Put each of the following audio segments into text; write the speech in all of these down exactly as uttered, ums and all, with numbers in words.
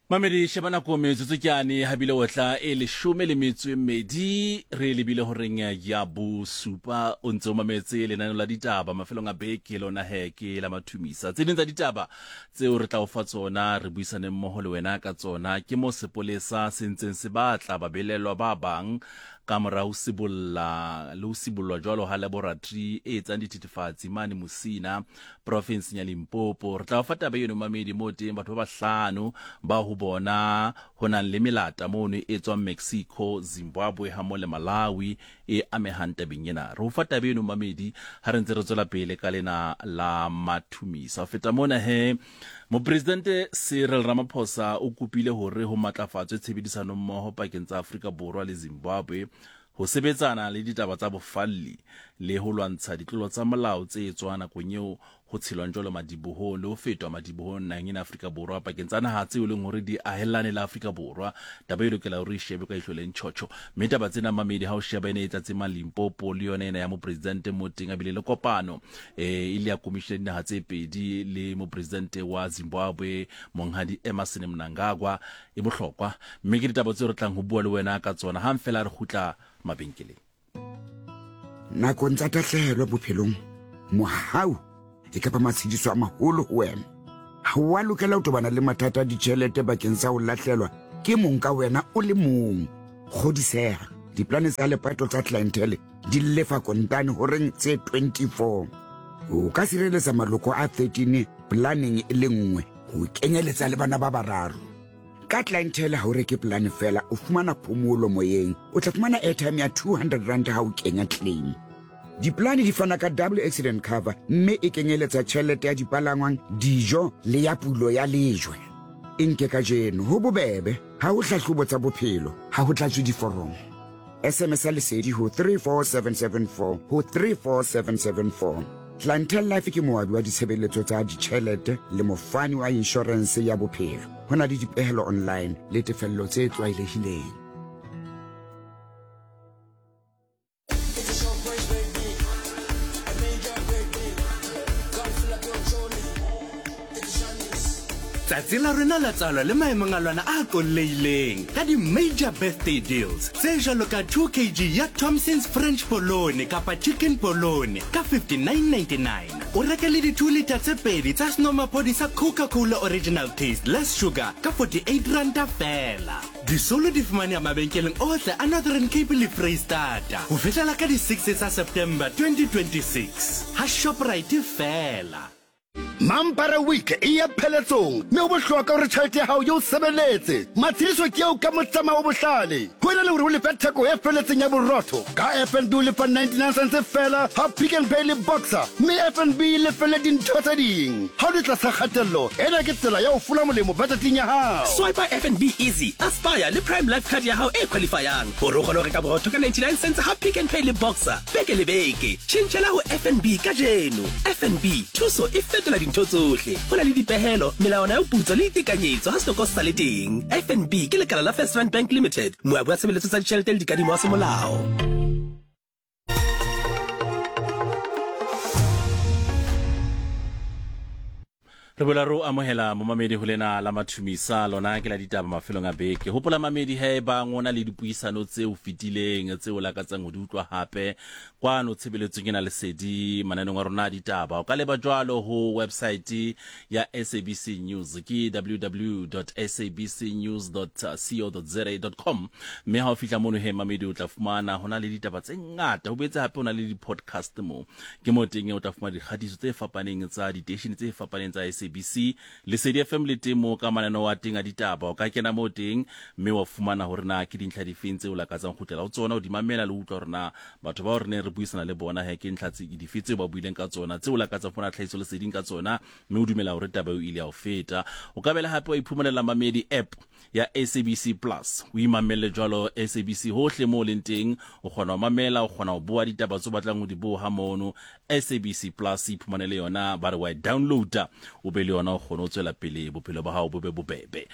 Mamedi sheba nako metsotso ke ane habile otla e leshome le metso e mmedi re lebile horeng ya bosupa. O ntse o mametse lenaneo la ditaba mafelong a beke lona he ke la mathumisa. Tse ding tsa ditaba tseo re tla o fa tsona re buisane mmoho le wena ka tsona ke mo sepolesa se ntseng se batla babelelwa ba bang ka mora ho sibolla le ho sibollwa jwalo ha laboratory e etsang dithethefatsi mane Musina profinseng ya Limpopo. Re tla o fa taba eno mamedi mo teng batho ba bahlano ba ho bona ho nang le melata mono e tswang Mexico, Zimbabwe ha mo le Malawi e amehang tabeng ena. Re o fa taba eno mamedi ha re ntse re tswela pele ka lena la mathumisa. Ho feta mona he Mopresidente Cyril Ramaphosa o kopile hore ho matlafatswe tshebedisano mmoho pakeng tsa Afrika Borwa le Zimbabwe ho sebetsana le ditaba tsa bofalli le ho lwantsha ditlolo tsa molao tse etswang nakong eo ho tshelwang jwalo madibohong le ho fetwa madibohong naheng ena Afrika Borwa pakeng tsa naha tseo e leng hore di ahellane le Afrika Borwa. Taba e lokela hore e shebe ka ihlo le ntjhotjho. Mme taba tsena mamedi ha o sheba ena e tlatseng Limpopo le yona ena ya mopresidente mo teng a bile le kopano eh e le ya commission ya dinaha tse pedi le mopresidente wa Zimbabwe Monghadi Emmerson Mnangagwa e bohlokwa. Mme ke ditaba tseo re tlang ho bua le wena ka tsona hang fela re kgutla mabenkeleng. Nakong tsa tahlehelo bophelong, mohau e kapa matshediso a maholo ho wena. Ha wa lokela ho tobana le mathata a ditjhelete bakeng sa ho lahlelwa ke mong ka wena o le mong. Kgodiseha, diplane tsa lepato tsa clientele di lefa kontane horeng tse twenty-four. O ka sireletsa maloko a thirteen planeng e le nngwe ho kenyeletsa le bana ba bararo. Ka clientele ha o reke plane fela, o fumana phomolo moyeng. O tla fumana airtime ya two hundred rand ha o kenya claim. Diplane di fana ka double accident cover mme e kenyeletsa tjhelete ya dipalangwang, dijo le ya pulo ya lejwe. E nke kajeno ho bobebe, ha ho hlahlobo tsa bophelo, ha ho tlatswe diforomo. S M S ya lesedi ho three four seven seven four ho three four seven seven four. Clientele Life ke moabi wa ditshebeletso tsa ditjhelete le mofani wa inshorense ya bophelo. Ho na le dipehelo online le tefello tse tlwaelehileng. Tsatsi la rona la tswalwa le maemong a lona a qolleileng ka di-major birthday deals tse jwalo ka two kilogram ya Thompson's French Polone kapa Chicken Polone ka fifty-nine ninety-nine. O reke le di-two liter tse pedi tsa senomaphodi sa Coca-Cola Original Taste Less Sugar ka forty-eight ranta fela. Disolo di fumaneha mabenkeleng ohle a Northern Cape le Freistata ho fihlela ka di-six tsa September twenty twenty-six. Ha Shoprite fela. Mampara Week e ya pheletsong mme ho bohlokwa hore tjhelete ya hao e o sebeletse. Matshediso ke eo ka motsamao o bohlale. Ho ena le hore o lefe theko e felletseng ya borotho, ka F N B o lefa ninety-nine cents fela ha Pick n Pay le Boxer, mme F N B e lefelle dintho tse ding. Ha o le tlasa kgatello, ena ke tsela ya ho fola molemo budgeteng ya hao. Swipe F N B Easy, Aspire le Prime Life Card ya hao e qualifyang hore o kgone ho reka borotho ka ninety-nine cents ha Pick n Pay le Boxer beke le beke. Tjhentjhela ho F N B kajeno. F N B, thuso e fetola dintho tsohle. Ho na le dipehelo, melawana ya ho putsa le ditekanyetso ha setoko se sa le teng. F N B ke lekala la First Rand Bank Limited, moabi wa tshebeletso tsa ditjhelete le dikadimo wa semolao. Re boela re o amohela momamedi ho lena la mathumisa lona ke la ditaba mafelong a beke. Hopola mamedi he ba ngona le dipuisano tse o fetileng tse o lakatsang ho di utlwa hape kwano tshebeletsong ena lesedi mananeng a rona a ditaba. O ka leba jwalo ho website ya S A B C News ke w w w dot s a b c news dot co dot z a dot com, mme ha o fihla mono he mamedi o tla fumana hona le ditaba tse ngata. Ho boetse hape ho na le di-podcast mo ke mo teng o tla fumana dikgatiso tse fapaneng tsa diteishene tse fapaneng tsa S A B C Lesedi F M le teng mo ka mananeo a teng a ditaba. O ka kena mo teng mme wa fumana hore na ke dintlha difeng tseo o lakatsang ho kgutlela ho tsona, o di mamela le ho utlwa hore na batho bao re neng re buisana le bona he ke ntlha tse dife tseo ba buileng ka tsona tseo o lakatsang ho fumana tlhahiso leseding ka tsona, mme o dumela hore taba eo ile ya o feta. O ka bela hape wa iphumanela mamedi app ya S A B C Plus, o imamelle jwalo S A B C hohle mo leng teng, o kgona ho mamela, o kgona ho boha ditaba tseo batlang ho di boha mono. S A B C Plus iphumanele yona, ba re wa e downloada o be le yona o kgone ho tswela pele bophelo ba hao bo be bobebe.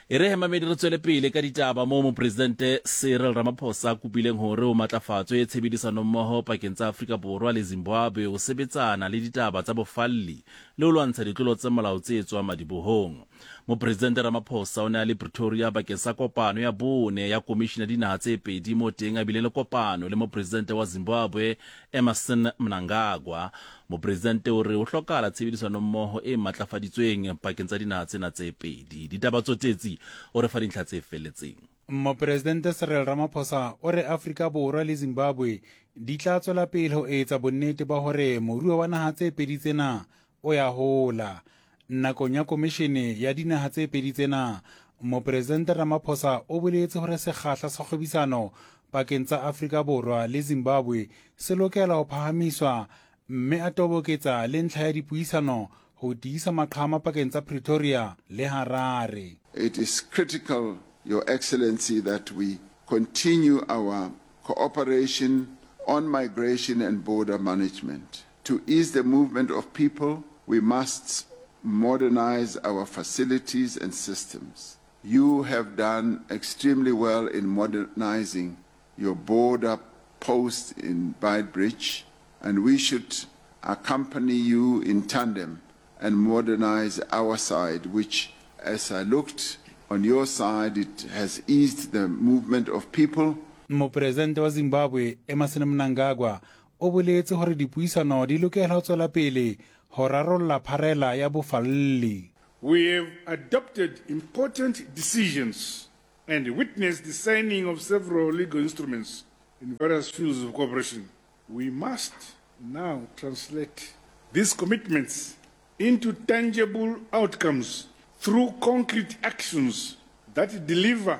E re hemamedi re tswele pele ka ditaba moo mopresidente Cyril Ramaphosa a kopileng hore ho matlafatswe tshebedisanommoho pakeng tsa Afrika Borwa le Zimbabwe ho sebetsana le ditaba tsa bofalli le ho lwantsha ditlolo tsa molao tse tswang madibohong. Mopresidente Ramaphosa o ne a le Pretoria bakeng sa kopano ya bone ya komishini ya dinaha tse pedi mo teng a bile le kopano le mopresidente wa Zimbabwe Emmerson Mnangagwa. Mopresidente o re ho hlokahala tshebedisanommoho e matlafaditsweng pakeng tsa dinaha tsena tse pedi. Ditaba tsotetsi o re fa dintlha tse felletseng. Mopresidente Cyril Ramaphosa o re Afrika Borwa le Zimbabwe di tla tswela pele ho etsa bonnete ba hore moruo wa naha tse pedi tsena o ya hola. Nakong ya komishene ya dinaha tse pedi tsena, Mopresidente Ramaphosa o boletse hore sekgahla sa kgwebisano pakeng tsa Afrika Borwa le Zimbabwe se lokela ho phahamiswa mme a toboketsa le ntlha ya dipuisano ho tiisa maqhama pakeng tsa Pretoria le Harare. It is critical, Your Excellency, that we continue our cooperation on migration and border management. To ease the movement of people, we must modernize our facilities and systems. You have done extremely well in modernizing your border post in Beitbridge, and we should accompany you in tandem and modernize our side, which, as I looked on your side, it has eased the movement of people. Mopresidente wa Zimbabwe Emmerson Mnangagwa o boletse hore dipuisano di lokela ho tswela pele ho rarolla pharela ya bofalli. We have adopted important decisions and witnessed the signing of several legal instruments in various fields of cooperation. We must now translate these commitments into tangible outcomes through concrete actions that deliver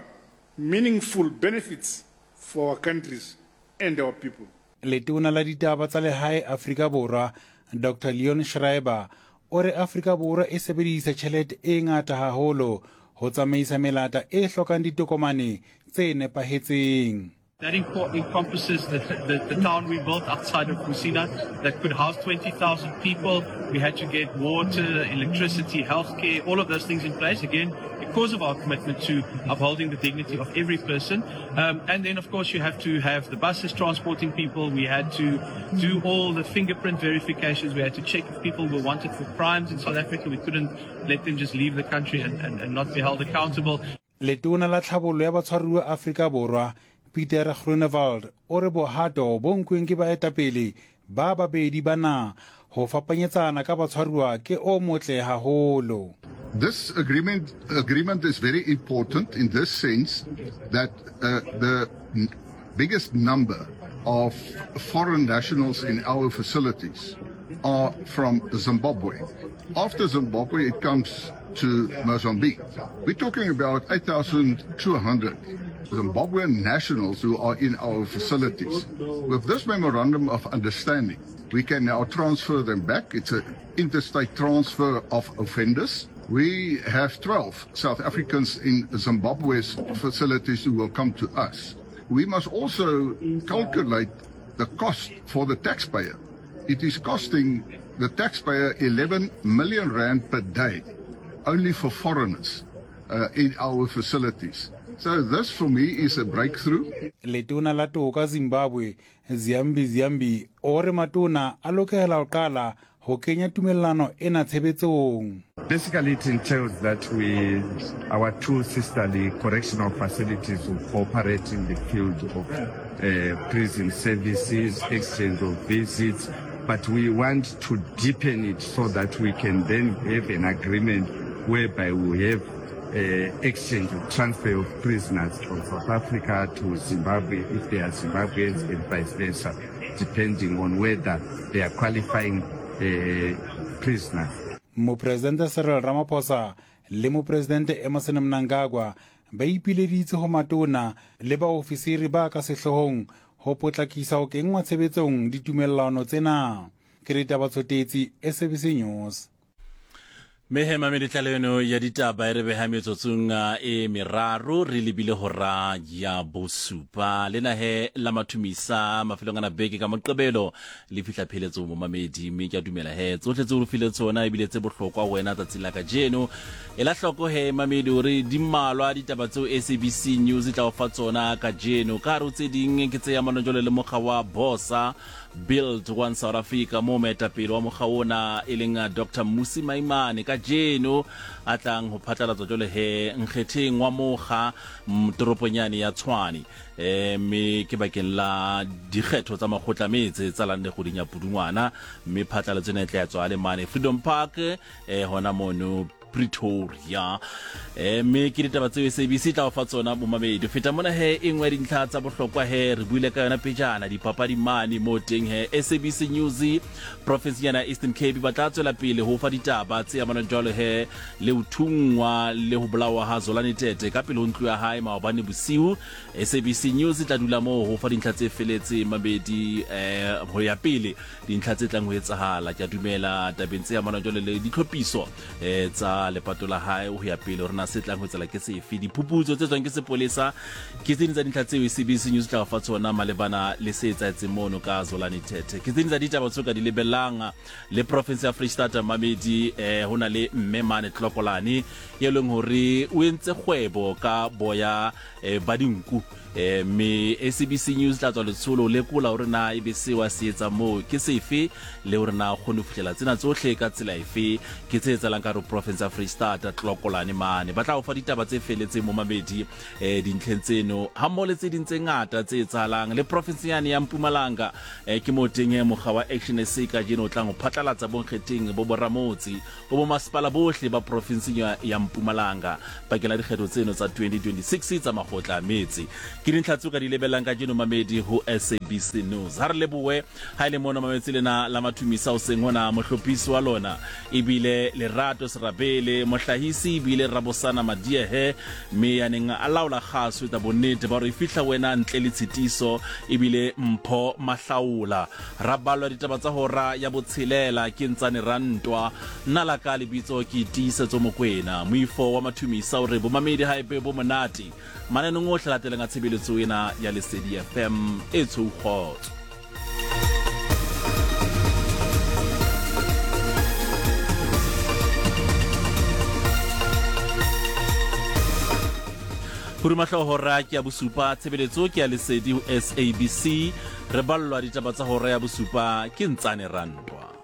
meaningful benefits for our countries and our people. Letona la ditaba tsa lehae Afrika Borwa Doctor Leon Schreiber o re Afrika Borwa e sebedisa tjhelete e ngata haholo ho tsamaisa melata e hlokang ditokomane tse nepahetseng. That encompasses the, the, the town we built outside of Musina that could house twenty thousand people. We had to get water, electricity, healthcare, all of those things in place, again, because of our commitment to upholding the dignity of every person. Um, and then, of course, you have to have the buses transporting people. We had to do all the fingerprint verifications. We had to check if people were wanted for crimes in South Africa. We couldn't let them just leave the country and, and, and not be held accountable. Letona la tlhabollo ya batshwaruwa Afrika Borwa Peter Groenewald o re bohato bo nkuweng ke baetapele ba babedi bana ho fapanyetsana ka batshwaruwa ke o motle haholo. This agreement agreement is very important in this sense that uh, the biggest number of foreign nationals in our facilities are from Zimbabwe. After Zimbabwe, it comes to Mozambique. We're talking about eight thousand two hundred Zimbabwean nationals who are in our facilities. With this memorandum of understanding, we can now transfer them back. It's an interstate transfer of offenders. We have twelve South Africans in Zimbabwe's facilities who will come to us. We must also calculate the cost for the taxpayer. It is costing the taxpayer eleven million rand per day, only for foreigners uh, in our facilities. So this for me is a breakthrough. Letona la toka Zimbabwe Ziyambi Ziyambi o re matona a lokela ho qala ho kenya tumellano ena tshebetsong. Basically it entails that we, our two sisterly correctional facilities will cooperate in the field of uh, prison services, exchange of visits, but we want to deepen it so that we can then have an agreement whereby we have Uh, exchange of transfer of prisoners from South Africa to Zimbabwe if they are Zimbabweans and vice versa, depending on whether they are qualifying uh, prisoners. Mopresidente Cyril Ramaphosa le mopresidente Emmerson Mnangagwa ba ipileditse ho matona le baofisiri ba ka sehloohong ho potlakisa ho kenngwa tshebetsong ditumellano tsena. Ke ditaba tsotetsi S A B C News. Mehe mamedi tlaleho eno ya ditaba e re beha metsotsong e meraro re lebile hora ya bosupa. Lena he la mathumisa mafelong ana beke ka Moqebelo le fihla pheletso mo mamedi, mme ke a dumela he tsohle tseo re file tsona ebile tse bohlokwa ho wena tsatsing la kajeno. Ela hloko he mamedi hore di mmalwa ditaba tseo S A B C News e tla o fa tsona kajeno. Ka hare ho tse ding ke tse amanang jwalo le mokga wa Bosa Build One South Africa, mo moetapele wa mokga ona e leng Doctor Mmusi Maimane kajeno a tlang ho phatlalatswa jwale he nkgetheng wa mokga toropong yane ya Tshwane, eh mme ke bakeng la dikgetho tsa makgotla metse tsa lande kgweding ya Pudungwana, mme phatlalatso ena e tla tswa le mane Freedom Park eh hona mono Pretoria. Eh mme ke ditaba tseo S A B C tla o fa tsona momamedi. Feta mona he e nngwe dintlha tsa bohlokwa he re buile ka yona pejana dipapadi mane mo teng he S A B C News province yana Eastern Cape ba tla tswela pele ho fa ditaba tse amanang jwalo he le ho thungwa le ho bolawa ha Zolani Tete ka pele ho ntlo ya hae maobane bosiu. S A B C News tla dula moo ho fa dintlha tse feletseng mabedi eh ho ya pele dintlha tse tlang ho etsahala. Ke a dumela tabeng tse amanang jwalo le ditlhophiso eh tsa lepato la hae ho ya pele hore na se tlang ho tsela ke sefe, diphuputso tse tswang ke sepolesa ke tse ding tsa dintlha tseo S A B C News tla fa tsona malebana le se etsahetseng mono ka Zolani Tete. Ke tse ding tsa ditaba tseo ka di lebellang le province ya Freistata mamedi. Eh ho na le mme mane Tlokolane e leng hore o entse kgwebo ka boya eh, ba dinku, eh mme S A B C News tla tswa letsholo lekola hore na e be se wa se etsa moo ke sefe le hore na kgone ho fihlela tsena tsohle ka tsela efe. Ke tse etsahalang ka province ya Freistata Tlokolane mane. Ba tla o fa ditaba tse feletseng mo mamedi eh dintlheng tseno ha mmoho le tse ding tse ngata tse etsahalang le province yane ya Mpumalanga. Eh ke mo teng mokga wa Action S A kajeno o tlang ho phatlalatsa bonkgetheng bo boramotse bo bomasepala bohle ba province ya, ya Mpumalanga bakeng la dikgetho tseno tsa twenty twenty-six tsa makgotla a metse. Ke dintlha tseo ka di lebellang kajeno mamedi ho S A B C News. Ha re lebohe ha ile mona mametse lena la mathumisa o seng hona mohlophisi wa lona ebile Lerato Serabele, mohlahisi ebile Rabosana Madiehe, mme ya neng a laola kgaso tsa bonnete ba hore e fihla wena ntle le tshitiso ebile Mpho Mahlaola. Rabalwa ditaba tsa hora ya botshelela ke Ntsane Rantwa, nna la ka lebitso ke Tiisetso Mokwena. Moifo wa mathumisa o re bomamedi ha ebe bo monate mananeng ohle latelang a tshebeletso ena ya Lesedi F M e tshou kgotso. Purumahlo hora ke ya bosupa, tshebeletso ke ya Lesedi ho S A B C. Re ballwa ditaba tsa hora ya bosupa ke Ntsane Rantwa.